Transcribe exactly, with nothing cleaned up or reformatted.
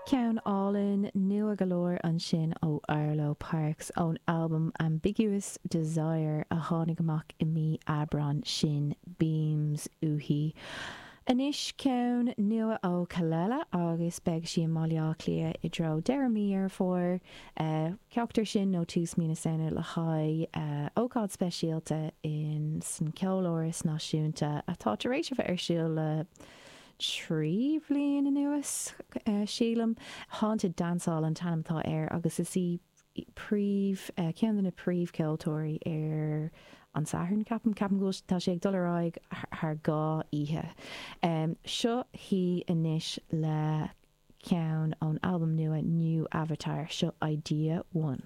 Ceann álainn nua go leor ansin ó Arlo Parks ón albam Ambiguous Desire a tháinig amach i mí Aibreáin sin Beams uaithi. Anois ceann nua ó Kelela agus beidh sí i mBaile Átha Cliath i dtreo deireadh mí Dheireadh Fómhair, ceachtar sin nó tús mí na Samhna le haghaidh ócáid speisialta in san Ceoláras Náisiúnta atá tar éis a bheith ar siúl le trí bhliain anuas, sílim. Haunted Dancehall an t-ainm atá air agus is í príomh, ceann de na príomhcheoltóirí ar an Satharn, ceapaim. Ceapaim go bhfuil, tá sé ag dul ar aghaidh thar dhá oíche. Seo hí anois le ceann ón albam nua New Avatar, seo Idea One.